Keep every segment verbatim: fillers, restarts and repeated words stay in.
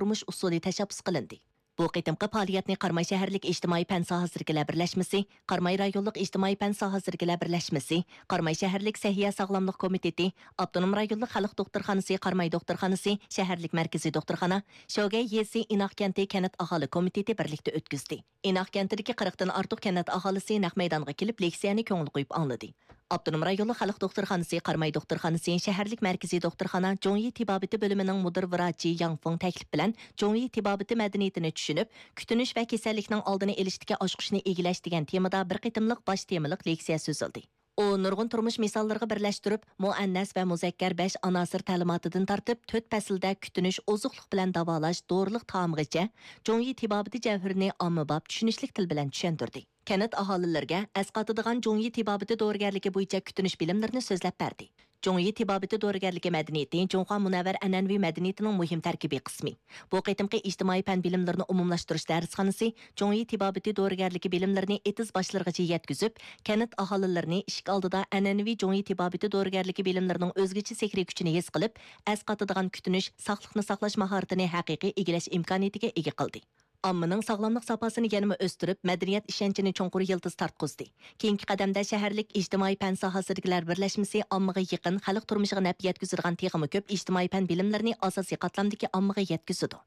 تۇرمۇش ئۇسۇلى تەشەببۇس قىلىندى. بۇ قېتىمقى پائالىيەتنى قاراماي شەھەرلىك ئىجتىمائىي پەن ساھەسىدىكىلەر بىرلەشمىسى، قاراماي رايونلۇق ئىجتىمائىي پەن ساھەسىدىكىلەر بىرلەشمىسى، قاراماي شەھەرلىك سەھىيە ساغلاملىق كومىتېتى، ئاپتونوم رايونلۇق خەلق دوختۇرخانىسى قاراماي دوختۇرخانىسى، شەھەرلىك مەركىزىي دوختۇرخانا، شوگەي يېزى ئىناق كەنتى كەنت ئاھالە كومىتېتى بىرلىكتە ئۆتكۈزدى. ئىناق كەنتىدىكى قىرىقتىن ئارتۇق كەنت ئاھالىسى نەق مەيدانغا كېلىپ، لېكسىيەنى كۆڭۈل قويۇپ ئاڭلىدى. ئاپتونوم رايونلۇق خەلق دوختۇرخانىسى قاراماي دوختۇرخانىسى شەھەرلىك مەركىزىي دوختۇرخانا جۇڭيى تېبابىتى بۆلۈمىنىڭ مۇدىر ۋراچى ياڭ فېڭ تەكلىپى بىلەن جۇڭيى تېبابىتى مەدەنىيىتىنى چۈشىنىپ، كۈتۈنۈش ۋە كېسەللىكنىڭ ئالدىنى ئېلىشتىكى ئاچقۇچنى ئىگىلەش دېگەن تېمىدا بىر قېتىملىق باش تېمىلىق لېكسىيە سۆزلىدى. ئۇ نۇرغۇن تۇرمۇش مىساللىرىغا بىرلەشتۈرۈپ، مۇئەننەس ۋە مۇزەككەر بەش ئاناسىر تەلىماتىدىن تارتىپ، تۆت پەسىلدە كۈتۈنۈش، ئوزۇقلۇق بىلەن داۋالاش، دورىلىق تائامغىچە جۇڭيى تېبابىتى جەۋھىرىنى ئاممىباب، چۈشىنىشلىك تىل بىلەن چۈشەندۈردى. كەنت ئاھالىلىرىگە ئەسقاتىدىغان جۇڭيى تېبابىتى دورىگەرلىكى بويىچە كۈتۈنۈش بىلىملىرىنى سۆزلەپ بەردى. جۇڭيى تېبابىتى دورىگەرلىكى مەدەنىيىتى جۇڭخۇا مۇنەۋۋەر ئەنئەنىۋى مەدەنىيىتىنىڭ مۇھىم تەركىبىي قىسمى. بۇ قېتىمقى ئىجتىمائىي پەن بىلىملىرىنى ئومۇملاشتۇرۇش دەرسخانىسى جۇڭيى تېبابىتى دورىگەرلىكى بىلىملىرىنى ئېتىز باشلىرىغىچە يەتكۈزۈپ، كەنت ئاھالىلىرىنى ئىشىك ئالدىدا ئەنئەنىۋى جۇڭيى تېبابىتى دورىگەرلىكى بىلىملىرىنىڭ ئۆزگىچە سېھرىي كۈچىنى ھېس قىلىپ، ئەسقاتىدىغان كۈتۈنۈش، ساقلىقنى ساقلاش ماھارىتىنى ھەقىقىي ئىگىلەش ئىمكانىيىتىگە ئىگە قىلدى. ئاممىنىڭ ساغلاملىق ساپاسىنى يەنىمۇ ئۆستۈرۈپ، مەدەنىيەت ئىشەنچىنى چوڭقۇر يىلتىز تارتقۇزدى. كېيىنكى قەدەمدە شەھەرلىك ئىجتىمائىي پەن ساھەسىدىكىلەر بىرلەشمىسى ئاممىغا يېقىن، خەلق تۇرمۇشىغا نەپ يەتكۈزىدىغان تېخىمۇ كۆپ ئىجتىمائىي پەن بىلىملىرىنى ئاساسىي قاتلامدىكى ئاممىغا يەتكۈزىدۇ.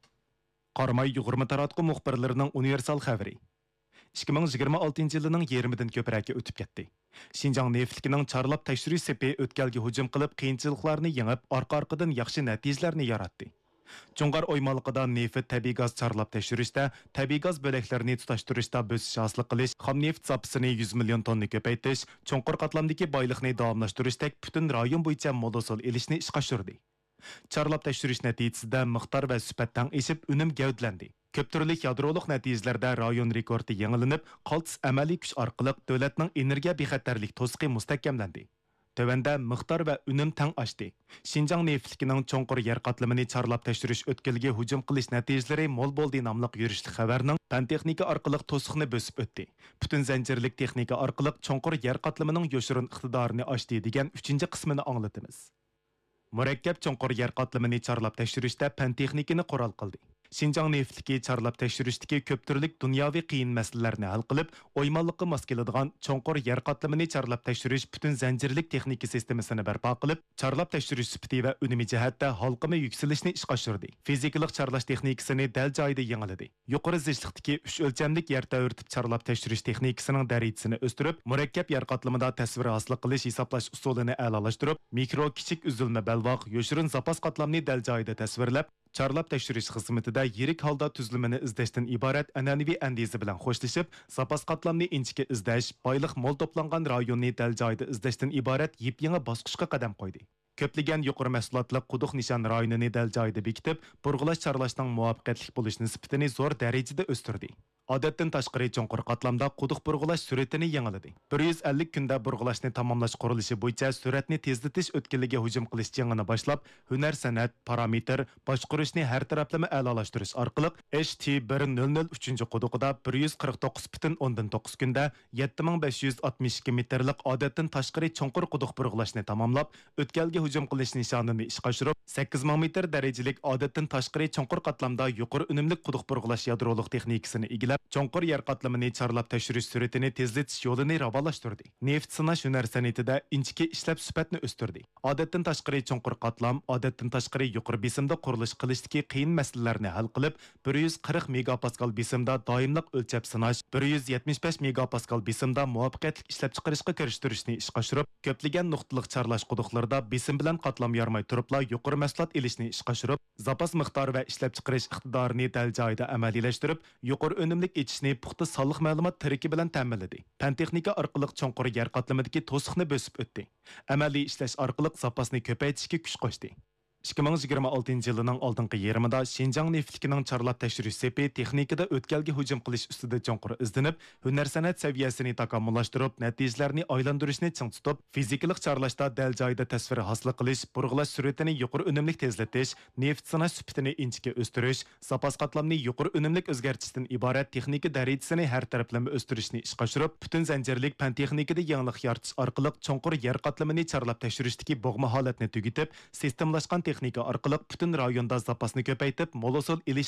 قاراماي يۇغۇرما تاراتقۇ مۇخبىرلىرىنىڭ ئۇنىۋېرسال خەۋىرى. ئىككى مىڭ يىگىرمە ئالتىنچى يىلىنىڭ يېرىمىدىن كۆپرەككە ئۆتۈپ كەتتى. شىنجاڭ نېفىتلىكىنىڭ چارلاپ تەكشۈرۈش سېپى ئۆتكەلگە ھۇجۇم قىلىپ، قىيىنچىلىقلارنى يېڭىپ، ئارقا-ئارقىدىن ياخشى نەتىجىلەرنى ياراتتى. جۇڭغار ئويمانلىقىدا نېفىت، تەبىئىي گاز چارلاپ تەكشۈرۈشتە، تەبىئىي گاز بۆلەكلىرىنى تۇتاشتۇرۇشتا بۆسۈش ھاسىل قىلىش، خام نېفىت زاپىسىنى يۈز مىليون توننا كۆپەيتىش، چوڭقۇر قاتلامدىكى بايلىقنى داۋاملاشتۇرۇشتەك پۈتۈن رايون بويىچە مول ھوسۇل ئېلىشنى ئىشقا ئاشۇردى. چارلاپ تەكشۈرۈش نەتىجىسىدە مىقدار ۋە سۈپەت تەڭ ئېشىپ، ئۈنۈم گەۋدىلەندى. كۆپ تۈرلۈك يادرولۇق نەتىجىلەردە رايون رېكورتى يېڭىلىنىپ، قالتىس ئەمەلىي كۈچ ئارقىلىق دۆلەتنىڭ ئېنېرگىيە بىخەتەرلىك توسۇقى مۇستەھكەملەندى. تۆۋەندە مىقدار ۋە ئۈنۈم تەڭ ئاشتى. شىنجاڭ نېفىتلىكىنىڭ چوڭقۇر يەر قاتلىمىنى چارلاپ تەكشۈرۈش ئۆتكىلىگە ھۇجۇم قىلىش نەتىجىلىرى مول بولدى ناملىق يۈرۈشلۈك خەۋەرنىڭ پەن تېخنىكا ئارقىلىق توسۇقنى بۆسۈپ ئۆتتى. پۈتۈن زەنجىرلىك تېخنىكا ئارقىلىق چوڭقۇر يەر قاتلىمىنىڭ يوشۇرۇن ئىقتىدارىنى ئاشتى دېگەن ئۈچىنچى قىسمىنى ئاڭلىتىمىز. مۇرەككەپ چوڭقۇر يەر قاتلىمىنى چارلاپ تەكشۈرۈشتە پەن تېخنىكىنى قورال قىلدى. شىنجاڭ نېفىتلىكى چارلاپ تەكشۈرۈشتىكى كۆپ تۈرلۈك دۇنياۋى قىيىن مەسىلىلەرنى ھەل قىلىپ، ئويمانلىققا ماس كېلىدىغان چوڭقۇر يەر قاتلىمىنى چارلاپ تەكشۈرۈش پۈتۈن زەنجىرلىك تېخنىكا سىستېمىسىنى بەرپا قىلىپ، چارلاپ تەكشۈرۈش سۈپىتى ۋە ئۈنۈمى جەھەتتە ھالقىما يۈكسىلىشنى ئىشقا ئاشۇردى. فىزىكىلىق چارلاش تېخنىكىسىنى دەل جايىدا يېڭىلىدى. يۇقىرى زىچلىقتىكى ئۈچ ئۆلچەملىك يەر تەۋرىتىپ چارلاپ تەكشۈرۈش تېخنىكىسىنىڭ دەرىجىسىنى ئۆستۈرۈپ، مۇرەككەپ يەر قاتلىمىدا تەسۋىر ھاسىل قىلىش، ھېسابلاش ئۇسۇلىنى ئەلالاشتۇرۇپ، مىكرو، كىچىك ئۈزۈلمە بەلباغ، يوشۇرۇن زاپاس قاتلامنى دەل جايىدا تەسۋىرلەپ، چارلاپ تەكشۈرۈش خىزمىتىدە يىرىك ھالدا تۈزۈلمىنى ئىزدەشتىن ئىبارەت ئەنئەنىۋى ئەندىزە بىلەن خوشلىشىپ، زاپاس قاتلامنى ئىنچىكە ئىزدەش، بايلىق مول توپلانغان رايوننى دەل جايىدا ئىزدەشتىن ئىبارەت يېپيېڭى باسقۇچقا قەدەم قويدى. كۆپلىگەن يۇقىرى مەھسۇلاتلىق قۇدۇق نىشان رايونىنى دەل جايىدا بېكىتىپ، بۇرغىلاش چارلاشنىڭ مۇۋاپىقەتلىك بولۇش نىسبىتىنى زور دەرىجىدە ئۆستۈردى. ئادەتتىن تاشقىرى چوڭقۇر قاتلامدا قۇدۇق بۇرغىلاش سۈرئىتىنى يېڭىلىدى. بىر يۈز ئەللىك كۈندە بۇرغىلاشنى تاماملاش قۇرۇلۇشى بويىچە سۈرئەتنى تېزلىتىش ئۆتكىلىگە ھۇجۇم قىلىش جېڭىنى باشلاپ، ھۈنەر سەنئەت، پارامېتىر، باشقۇرۇشنى ھەر تەرەپلىمە ئەلالاشتۇرۇش ئارقىلىق، ئېچ تى بىر نۆل نۆل ئۈچىنچى قۇدۇقىدا بىر يۈز قىرىق توققۇز پۈتۈن ئوندىن توققۇز كۈندە يەتتە مىڭ بەش يۈز ئاتمىش ئىككى مېتىرلىق ئادەتتىن تاشقىرى چوڭقۇر قۇدۇق بۇرغىلاشنى تاماملاپ، ئۆتكەلگە ھۇجۇم قىلىش نىشانىنى ئىشقا ئاشۇرۇپ، سەككىز مىڭ مېتىر دەرىجىلىك ئادەتتىن تاشقىرى چوڭقۇر قاتلامدا يۇقىرى ئۈنۈملۈك قۇدۇق بۇرغىلاش يادرولۇق تېخنىكىسىنى ئىگىلەپ، چوڭقۇر يەر قاتلىمىنى چارلاپ تەكشۈرۈش سۈرئىتىنى تېزلىتىش يولىنى راۋانلاشتۇردى. نېفىت سىناش ھۈنەر سەنئىتىدە ئىنچىكە ئىشلەپ سۈپەتنى ئۆستۈردى. ئادەتتىن تاشقىرى چوڭقۇر قاتلام، ئادەتتىن تاشقىرى يۇقىرى بېسىمدا قۇرۇلۇش قىلىشتىكى قىيىن مەسىلىلەرنى ھەل قىلىپ، بىر يۈز قىرىق مېگاپاسكال بېسىمدا دائىملىق ئۆلچەپ سىناش، بىر يۈز يەتمىش بەش مېگاپاسكال بېسىمدا مۇۋەپپەقىيەتلىك ئىشلەپچىقىرىشقا كىرىشتۈرۈشنى ئىشقا ئاشۇرۇپ، كۆپلىگەن نۇقتىلىق چارلاش قۇدۇقلىرىدا بېسىم بىلەن قاتلام يارماي تۇرۇپلا يۇقىرى مەھسۇلات ئېلىشنى ئىشقا ئاشۇرۇپ، زاپاس مىقدار ۋە ئىشلەپچىقىرىش ئىقتىدارىنى دەل جايىدا ئەمەلىيلەشتۈرۈپ، يۇقىرى ئۈنۈملۈك ئېچىشنى پۇختا سانلىق مەلۇمات تىرىكى بىلەن تەمىنلىدى. پەن تېخنىكا ئارقىلىق چوڭقۇر يەر قاتلىمىدىكى توسۇقنى بۆسۈپ ئۆتتى. ئەمەلىي ئىشلەش ئارقىلىق زاپاسنى كۆپەيتىشكە كۈچ قوشتى. ئىككى مىڭ يىگىرمە ئالتىنچى يىلىنىڭ ئالدىنقى يېرىمىدا شىنجاڭ نېفىتلىكىنىڭ چارلاپ تەكشۈرۈش سېپى تېخنىكىدا ئۆتكەلگە ھۇجۇم قىلىش ئۈستىدە چوڭقۇر ئىزدىنىپ، ھۈنەر سەنئەت سەۋىيەسىنى تاكامۇللاشتۇرۇپ، نەتىجىلەرنى ئايلاندۇرۇشنى چىڭ تۇتۇپ، فىزىكىلىق چارلاشتا دەل جايىدا تەسۋىر ھاسىل قىلىش، بۇرغىلاش سۈرئىتىنى يۇقىرى ئۈنۈملۈك تېزلىتىش، نېفىت سىناش سۈپىتىنى ئىنچىكە ئۆستۈرۈش، زاپاس قاتلامنى يۇقىرى ئۈنۈملۈك ئۆزگەرتىشتىن ئىبارەت تېخنىكا دەرىجىسىنى ھەر تەرەپلىمە ئۆستۈرۈشنى ئىشقا ئاشۇرۇپ، پۈتۈن زەنجىرلىك پەن تېخنىكىدا يېڭىلىق يارىتىش ئارقىلىق چوڭقۇر يەر قاتلىمىنى چارلاپ تەكشۈرۈشتىكى بوغما ھالەتنى تۈگىتىپ، سىستېمىلاشقان تېخنىكا ئارقىلىق پۈتۈن رايوندا زاپاسنى كۆپەيتىپ، مول ھوسۇل ئېلىش